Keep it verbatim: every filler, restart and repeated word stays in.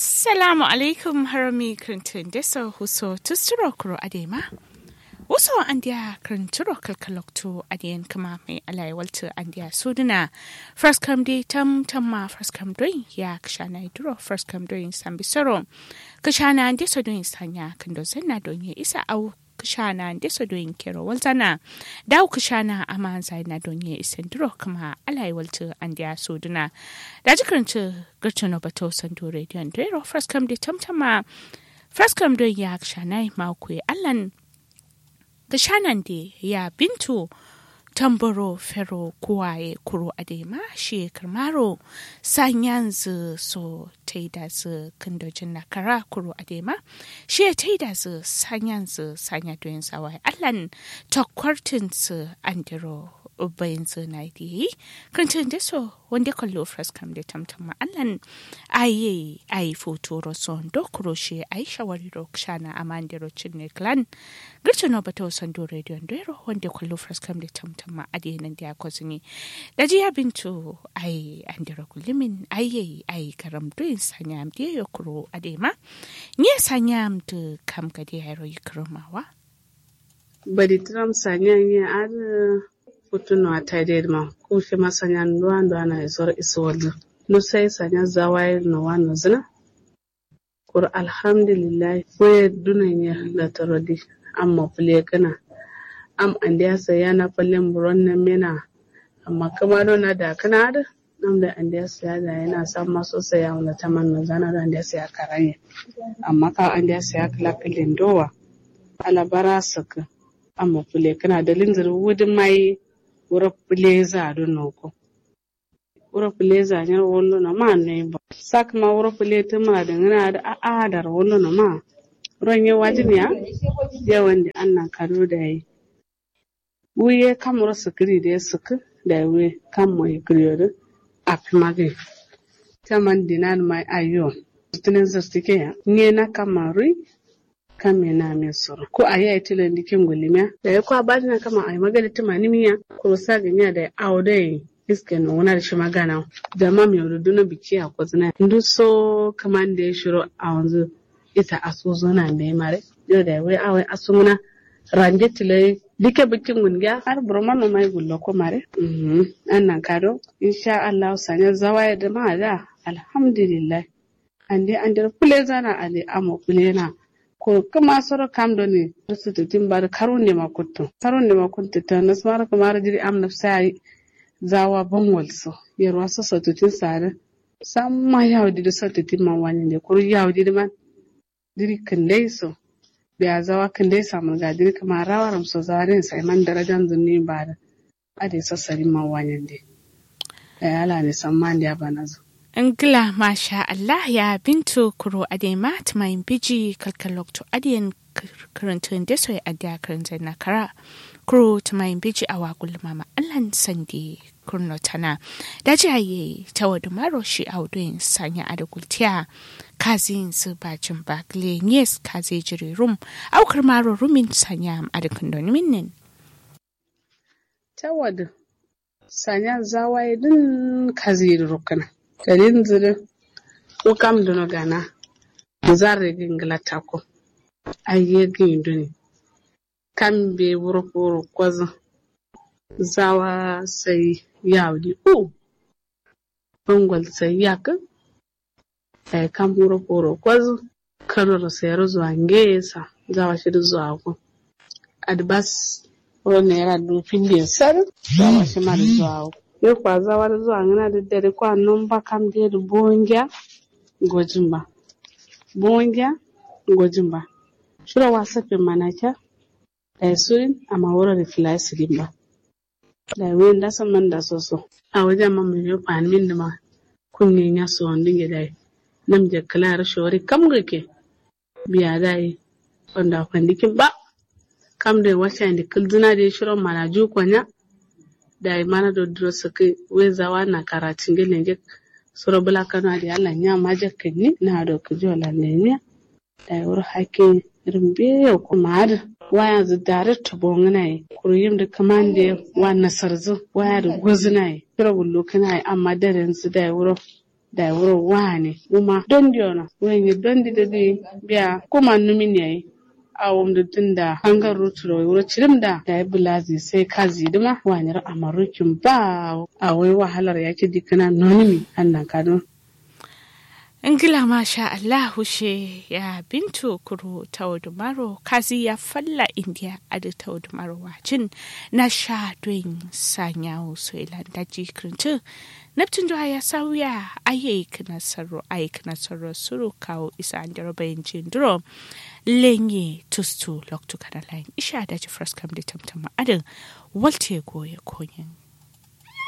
Assalamu alaikum harami kǝrǝntǝ ndeso wuso tusturo kuro adai ma. Wuso andiya kǝrǝnturo kalkaloktu adiyen kǝma mai alai waltǝ andiya suduna. Fraskam dai tam tam ma fraskam doin ya kǝshana iduro fraskam doin sambi soro. Kǝshana ndeso doin sanya kǝndo zanna donye isa au kǝshana ndeso doin kero walzana. Dawu kǝshana amanzaina donye isanduro kǝma alai waltǝ andiya suduna. Daji kǝrǝntǝ gǝrtǝno bato sandu rediyon doiro fraskam dai tam tam ma. Fraskam doin ya kǝshana ima kuye allan. Kǝshanande ya bintu. Tamboro fero kuwaye kuro adai ma shiye kǝrmaro. Sanyanzǝ so taidazǝ kǝndo jinna kara kuro adai ma. Shiye taidazǝ sanyanzǝ sanya doyin zawaye allan. Takwartǝnsǝ andiro bainzǝ nayi diye yi. Kǝrǝntǝ ndeso wande kallo fraskam dai tam tam ma allan. Ayi ayi futuro so ndo kuro shiye ayi shawariro kǝshana amandiro cinne klan. Gǝrtǝno bato sandu rediyon doiro wande kallo fraskam dai tam tam ma adiye nandiya kozǝni. Daji ya bintu ayi andiro kullumin ayi ayi karam doin sanyam diye yo kuro adai ma. Nye sanyam dǝ kam gade yayi ro yikǝrǝmawa. Badi tǝram sanya nye adǝ. Futu no atai dai dǝma. Ku shima sanya nduwa nduwa na isoro isuwalzǝ. Nusai sanya zawaye no wa nozǝna. Kuru alhamdulillahi fuye dunon ye latarodi. Amma fule kǝna. Am andiya sai yana fallen buron nan mena. Amma kǝma do na da kǝna adǝ. Nam dai andeya siya dayena samma so sai ya wula taman nozana do andeya siya karanye. Amma kawo andeya siya kǝla kǝllen dowa. Ala bara sǝkkǝ. Amma fǝle kǝna dalilnzǝ dǝ wudǝ mayi. Wuro fǝleza do noko. Wuro fǝleza nyiro wallono ma noyin ba. Sa kǝma wuro fǝle tǝmura dǝngǝna adǝ a'a daro wallono ma. Ronye wajin ya. Yawande annan kado dayi. Wuye kam wuro sǝkkǝri dǝ ye sǝkkǝ. Dayi wuye kam moye kǝriyo dǝ. Affi magǝyi. Taman dinan ma ayyo. Tǝnin zǝrtǝ ke ya nye na kamma ruyi. Kamme name soro ku ayi ayi tilandi kim gullimiya. Dayi kwa badina kamma ayi magade tǝmanimiya. Kuru sa gǝmiya dayi awo doi. Iske nowuna dǝ shima ganawo. Damam yaudu duno bikkiya kozǝna nduso. Kǝmande shiro awonzǝ. Ita asuzuna mbeyi mare. Yo dayi wai awo asungǝna. Ranje tilai dike bǝkkin gungiya har buroma nomai gullo ko mare. Annan kado. Insha allahu sanya zawaye dǝma ada. Alhamdulillah. Ande andero fǝlezana ande amo fǝlena. Kuru kǝma soro kam done. Sǝtǝtin ba dǝ karunde ma kuttu karunde ma kuttu tanasmaro kǝmaro jiri am nafsa yayi. Zawa bangol so. Yerwa so sotǝtin sadǝ. Samma yawudi dǝ sotǝtin ma wanyinde kuru yawudi dǝ man. Jiri kǝndai so. Biya zawa kǝndai samurga jiri kǝma rawaram so zawa dǝn saiman darajan zunni ba dǝ. Adai so sarin ma wanyinde. Dayi alane samma andeya banazo. Ngla masha allah ya bintu kuro adai ma tǝmayin biji kalkal loktu adai yen. Kǝrǝntǝ nde soye adai ya kǝrǝntǝ na kara. Kuro tǝmayin biji awa gulluma ma allan sande. Kǝrno tana. Daji ayi tawo dǝmaro shi awo doyin sanya adai gultiya. Kaziyin sǝ bajin ba gǝle nyes kazi jiri rum. Awo kǝrmaro rumin sanya am adai kǝndo nimin nin. Tawadǝ sanya zawaye dǝn kaziyi dǝ rukkǝna. Dalilnzǝ dǝ. Wu kam dǝno gana. Zarre gǝyi ngǝla takko. Aiye gǝyi duni. Kambe wuro furo kozǝ. Zawa sai yawudi u. Bangol sai yakkǝ. Dayi kam wuro furo kozǝ. Kanoro sai yero zuwa ngeye sa. Zawa shidǝ zuwa wu. Adǝ bas. Wuro naira du findin sadǝ. Zawa shima dǝ zuwa wu. Yo kwa zawa dǝ zuwa ngǝna dǝ dare kwa nomba kam dǝ ye dǝ bongiya. Gojin ba. Bongiya. Gojin ba. Shiro wasafin mana kya. Dayi surin amma wuro dǝ fǝlayi sǝdin ba. Dayi wuyen daso man daso so. Awo jama maiyo fanimin dǝma. Kunye nya sowondǝ nge dayi. Namje kǝla yero shori kam gǝkke. Biya dayi. Fando afandi kin ba. Kam doi wacayinde kǝldǝna dǝ ye shiro mana juwu konya. Dayi mana do duro sǝkkǝ. Wai zawa na karatin ge lenje. Suro bǝla kano adǝ ye allah nya majakkǝnni na do kǝjiwo lan lemiya. Dayi wuro hakki rimbe yo kuma adǝ. Wayanzǝ daret to bongǝna ye kuru yim dǝ kǝmande wa nasarzǝ waya dǝ gozǝna ye. Shiro gullukkǝna ye amma darensu dayi wuro. Dayi wuro wani wuma dondi wono wuro nye dondi dǝ dǝ biya kuma numin yayi. Awom dǝ dǝn da hangar rutu ro wuro cirim da dayi bǝlazi sai kazi dǝma wani ro amarukin ba. Awai wahalar yaki dikkǝna nonimi annan kadǝ. Ngla masha allahu she ya bintu kuru taudumaro kazi ya falla indiya adǝ taudumaro wajin. Na sha doin sanyawo soilan daji kǝrǝntǝ. Nabtǝn do aya sauya aye kǝna sarro aye kǝna sarro suru kawo isa andero bayin jinduro. Lenye tustu loktu kana layin isha daji fraskam dǝ tamtama adǝ. Walte goye konyen.